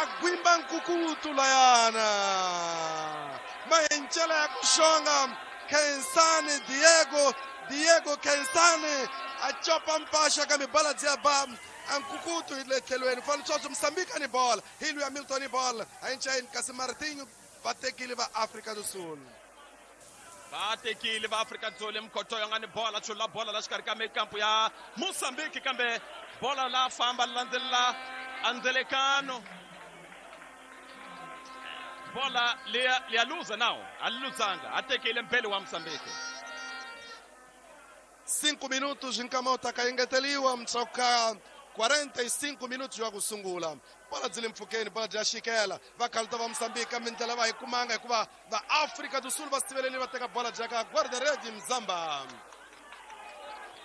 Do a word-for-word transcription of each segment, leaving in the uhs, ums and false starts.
A gwimba nkukutu layana. Mahencela ya ku xonga Khensani Diego, Diego Khensani a copa mpaxa kambe bola byi ya ba nkukutu hi le tlhelweni. Fana Mozambique ni bola, hi luya Milton ni bola. A enceni kasi Martinho va tekile va Afrika do Sul. Va tekile va Afrika do Sul Mkhotoyo nga ni bola, chula bola la xikarhi ka mikampu ya Mozambique kambe bola la famba landzelela andzelekano. Bola liya liya luza now, aliluzanga, atekile mbele wa Mozambique. Cinco minutos nkama utakaengeteliwa mtsoka quarenta e cinco minutos ya kusungula. Bola dzile mpfhukeni, bola dya xikela. Va khaluta va Mozambique kambe ndlela va yi kumanga hikuva va Afrika do Sul va siveleli va teka bola dya ka guarda-rede Mzamba.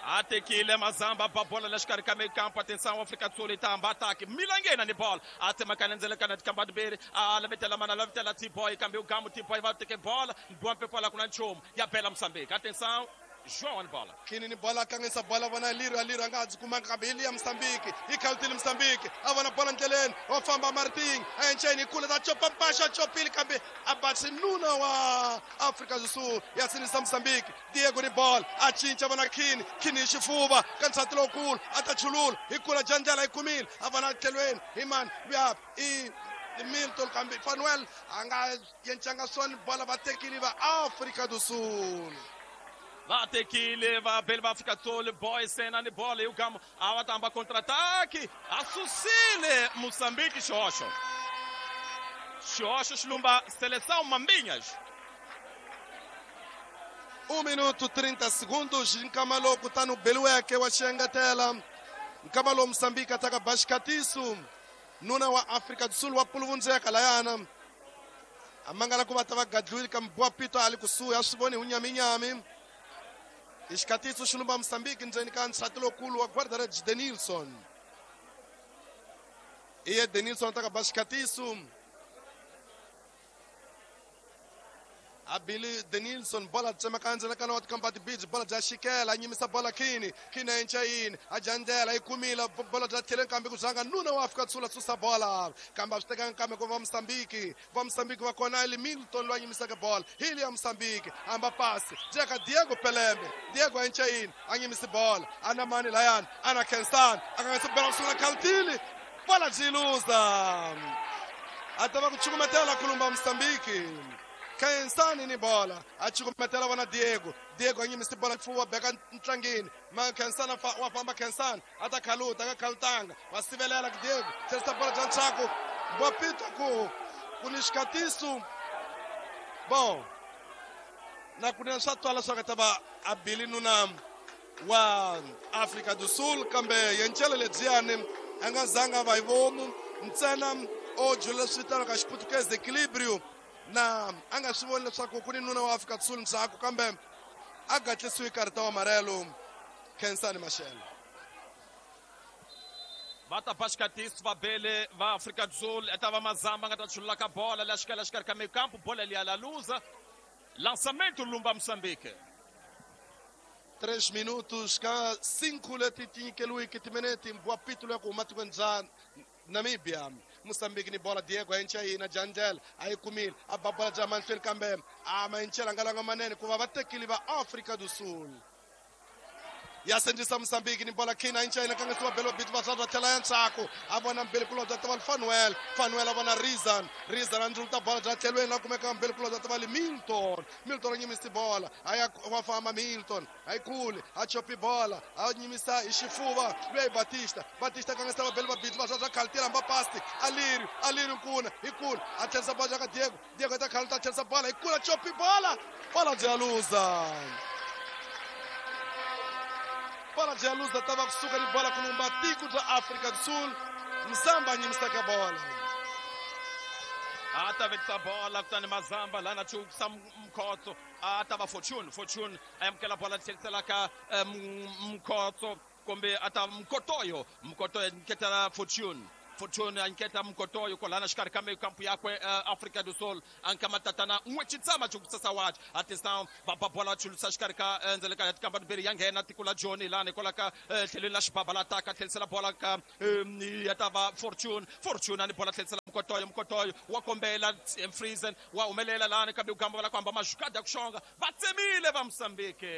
A tekile Mazamba ba bola la xikarhi ka mikampu, atenção Afrika do Sul itamba ataki milangena ni bola a tsemakanya ndzelekana tikamba timbirhi a lavetela mana lavetela T-boy kambe ugamu T-boy va teke bola bompe kwala kuna nchumu ya bela Mozambique, atenção João bola. Kini ni bola kangisa bola vona Liro a Liro anga kumanga kambe ya Mozambique. Ikhalutile Mozambique. Avona bola ndleleni. Wafamba Martin. Ayencheni kule da chopa mpasha chopile kambe abatsi nuna wa Afrika do Sul. Yasinisa Mozambique. Diego ni bola. Achincha vona Kini. Kini xifuva. Kantsati lowukulu atachulula. Ikula jandlela ikumile. Avona tlhelweni. Iman ya i Milton kambe Fanuel anga yenchanga swani bola va tekile va Afrika do Sul. Va tekile va bele va Afrika do Sul, boy sena ni bola e o Gamo a tamba contra-ataque a susile Moçambique xoxo. Xoxo xilumba seleção Mambinhas. Um minuto trinta segundos Nkamalo kutano Belueke wa xengetela. Nkamalo Moçambique ataka Bashkatisu. Nuna wa Afrika do Sul wa puluvundzeka layana. Amangala ku va ta va gadlwile kambe Boa Pito ali kusuhi a swi voni hi nyaminyami. Xikatiso xilumba Mozambique ndzeni ka nsati lowukulu wa guarda-redes Denilson. Iye Denilson ataka ba xikatiso. Abili Denilson bola tsemaka ndzeni wa tikamba tibiji bola bya xikela a nyimisa bola Kini Kini a enca yini a jandlela yi kumile bola bya tlheleni kambe ku zanga nuna wa Afrika do Sul a susa bola kambe a swi tekanga kambe ku va Mozambique va Mozambique va kona ili Milton loyi a nyimisaka bola hi liya Mozambique amba pasi jeka Diego Pelembe Diego a enca yini a nyimisi bola ana mani layani ana Khensani a nga se bola kusungula khalutile bola byi luza a ta va ku cukumetela kulumba Mozambique. Khensani ni bola a cukumetela vona Diego Diego a nyimisi bola mfuwa beka ntlangeni ma Khensani wa famba Khensani a ta khaluta ka khalutanga wa sivelela ku Diego tlherisa bola bya ntshaku Bopito ku ku ni xikatiso bon na kunene swa twala swa ka ta va a bili nuna wa Afrika do Sul kambe yencele lebyiyani a nga zanga va hi vomu ntsena o jula leswi vitaniwaka xiputukezi equilibrio na a nga swi voni leswaku ku ni nuna wa Afrika do Sul ndzhaku kambe a gatlisiwe karita wa marelo Khensani Mashele. Va ta ba xikatiso va bele va Afrika do Sul eta va Mazamba nga ta chulula ka bola la xikela xikarhi ka mikampu bola liya la luza lançamento lumba Mozambique. Três minutos ka cinco leti tinyikeliwiki timinete Boa Pito ya ku huma tikweni bya Namibia. Mozambique ni bola Diego a enca yina jandlela a yi kumile a ba bola bya mahlweni kambe a ma encela nga langa manene ku va va tekile va Afrika do Sul. Ya sendisa Mozambique ni bola Kina enca yina kanga siwa belo bitu va swa tlhela ya ntshaku a vona mbele kulobya ta va Fanuel Fanuel a vona Rizan Rizan a ndluluta bola bya tlhelweni la kumeka mbele kulobya ta va Milton Milton a nyimisi bola a ya wa famba Milton a yi kule a chopi bola a nyimisa hi xifuva loyi Batista Batista kanga siwa belo bitu va swa khalutela mba pasti Aliri Aliri nkuna hi kule a tlherisa bola ka Diego Diego ta khaluta a tlherisa bola hi kula chopi bola bola bya luza. Bola de luz tava kusuka ni bola kulumba tiko bya Afrika do Sul. Mzamba nyimisaka bola. A ta vekisa bola kutani Mazamba lana chukisa Mkhotso a ta va Fortune Fortune a amukela bola tlhelisela ka Mkhotso kumbe a ta Mkotoyo Mkotoyo nketela Fortune Fortune anketa Mkotoyo kwalana xikarhi ka mikampu yakwe uh, Afrika do Sul anka matatana n'we chitsama chukusasa wachi atenção va ba bola chulusa xikarhi ka ndzele ka tikamba timbirhi ya nghena tiko la Johnny lani kwala ka tlhelweni la xibaba la taka tlhelisela bola ka ya ta va Fortune Fortune ani bola tlhelisela Mkotoyo Mkotoyo wa kombela Friesen wa humelela lani kambe ugamba va ku hamba mazhukada ya ku xonga va tsemile va Mozambique.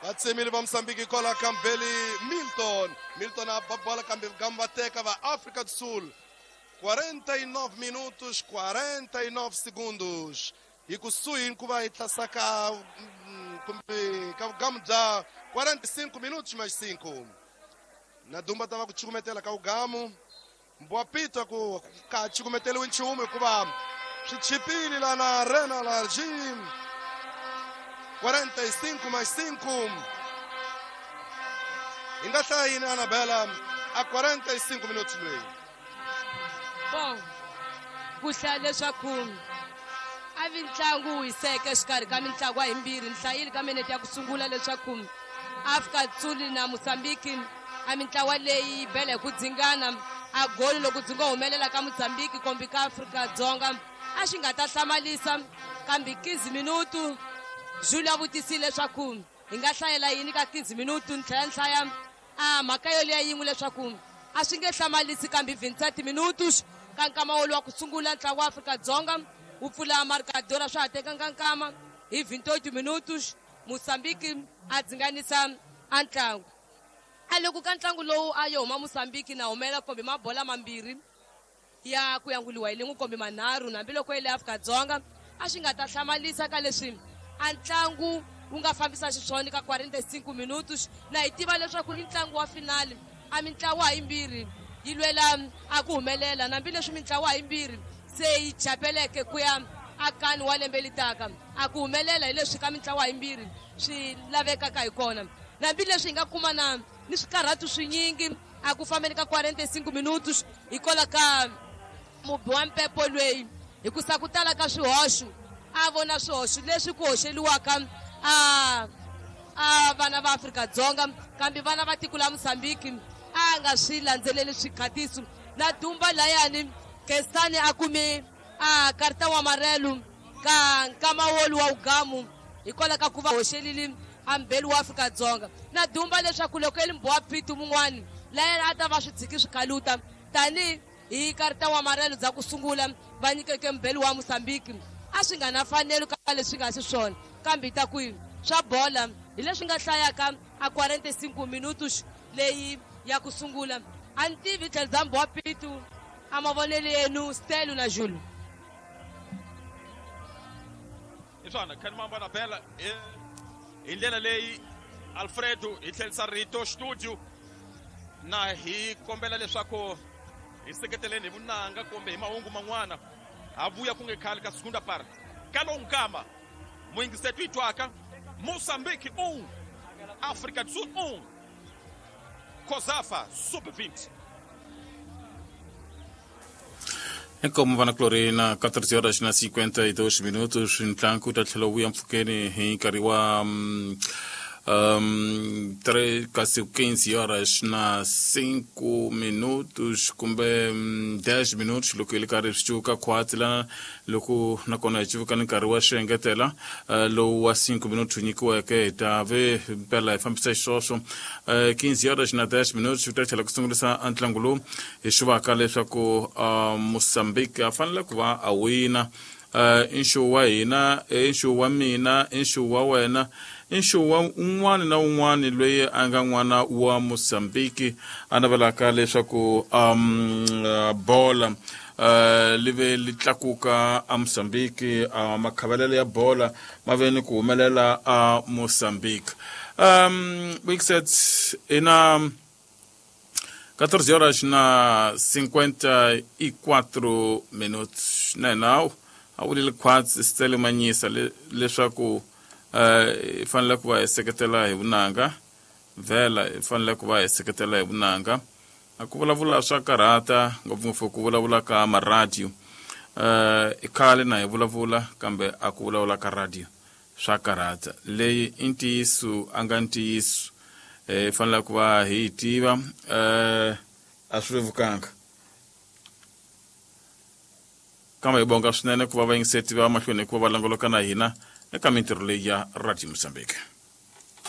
Va tsemile va Mozambique kwala ka Mbeli Milton. Milton a ba bola kambe gamba teka va África do Sul. quarenta e nove minutos, quarenta e nove segundos. Hi kusuhi ku va hi tlasaka kumbe ka vugamu bya quarenta e cinco minutos mais cinco. Na Dumba ta va ku cukumetela ka vugamu. Mbwapita ku ka cukumeteliwi nchumu hikuva swi chipile la na Arena Large. quarenta e cinco mais cinco. Hi nga hlaya yini Anabela a quarenta e cinco minutos leyi? Bom, ku hlaya leswaku a vi ntlangu wu hiseke exikarhi ka mintlangu yimbirhi. Ni hlayile ka minete ya ku sungula leswaku Afrika Sul na Mozambique a mintlawa leyi bele ku dzingana a goli loko dzi ngo humelela ka Mozambique kumbe ka Afrika Dzonga a xi nga ta hlamalisa. Kambe quinze minutu Jules a vutisile leswaku hi nga hlayela yini ka quinze minutu. Ni tlhela ni hlaya a mhaka yoleyo yin'we leswaku a swi nge hlamalisi kambe vintsati minutos ka nkama wolowo wa ku sungula ntlangu wa Afrika Dzonga wu pfula marcador swa ha tekanga nkama hi vinte e oito minutos Mozambique a dzinganisa a ntlangu. A loko ka ntlangu lowu a yo huma Mozambique na humela kumbe mabola mambirhi ya ku yanguliwa hi lin'we kumbe manharhu hambiloko yi le Afrika Dzonga a swi nga ta hlamalisa ka leswi a ntlangu wu nga fambisa xiswona ka quarenta e cinco minutos. Na hi tiva leswaku i ntlangu wa finale a mintlawa yimbirhi yi lwela a ku humelela hambileswi mintlawa yimbirhi se yi chapeleke ku ya akani wa lembe litaka a ku humelela hi leswi ka mintlawa yimbirhi swi lavekaka hi kona. Hambileswi hi nga kuma na ni swikarhatu swinyingi a ku fambeni ka quarenta e cinco minutos hikwalaho ka mubi wa mpepo lweyi hikusa ku tala ka swihoxo a vona swihoxo leswi ku hoxeliwaka a a vana va Afrika Dzonga kambe vana va tiko la Mozambique a nga swi landzeleli swikhatiso. Na Dumba layani Kestani a kume a karta wa amarelo ka nkama wolu wa ugamu hikwalaho ka ku va hoxelile a mbeli wa Afrika Dzonga. Na Dumba leswaku loko eli mbwa pitu mun'wani layani a ta va swi tshiki swikhaluta tani hi karta wa amarelo bya ku sungula va nyikeke mbeli wa Mozambique a swi nga na fanelo ka leswi nga xiswona. Kambe ta ku swa bola hi leswi nga hlayaka a quarenta e cinco minutos leyi ya ku sungula. A ni tivi tlhelo bya mbwa pitu a mavonelo yenu Stelo na Jules. Hi swona khani mamba na Bela hi ndlela leyi Alfredo hi tlherisa rito studio na hi kombela leswaku hi seketeleni hi vunanga kumbe hi mahungu man'wana ha vuya ku nge khale ka segunda parte ka lowu nkama muyingiseti yi twaka Mozambique um, África do Sul um, COSAFA sub vinte. Inkomu vana Clorina, quatorze horas na cinquenta e dois minutos, ntlangu ta tlhela wu ya mpfhukeni hi nkarhi wa um, um, três, quase quinze horas na cinco minutos kumbe um, dez minutos loko yi ri karhi swi cuka khwatsi lana loko nakona hi cuvuka ni nkarhi wa swi engetela uh, lowu wa cinco minutos wu nyikiweke hi ta ve mpela hi fambisa xiswoswo uh, quinze horas na dez minutos swi ta tlhela ku sungurisa ntlangu lowu hi swi vaka leswaku uh, Mozambique a fanele ku va a wina. Uh, i nxuwu wa hina, i nxuwu wa mina, i nxuwu wa wena, i nxuwu wa un'wana na un'wana loyi a nga n'wana wa Mozambique a navelaka leswaku um, uh, bola uh, li ve li tlakuka a Mozambique, uh, makhavelelo ya bola ma ve ni ku humelela a Mozambique. Um, Wixet ina quatorze horas na cinquenta e quatro minutos na hina a vulile khwatsi Stele Manyisa leswaku hi fanele ku va hi seketela hi vunanga vhela hi fanele ku va hi seketela hi vunanga. A ku vulavula swa karhata ngopfungopfu ku vulavula ka maradiyo i khale na hi vulavula kambe a ku vulavula ka radio swa karhata. Leyi i ntiyiso a nga ntiyiso hi fanele ku va hi yi tiva a swi vevukanga. Kambe hi bonga swinene ku va vayingiseti va mahlweni ku va va languluka na hina eka mintirho leyi ya Radio Mozambique.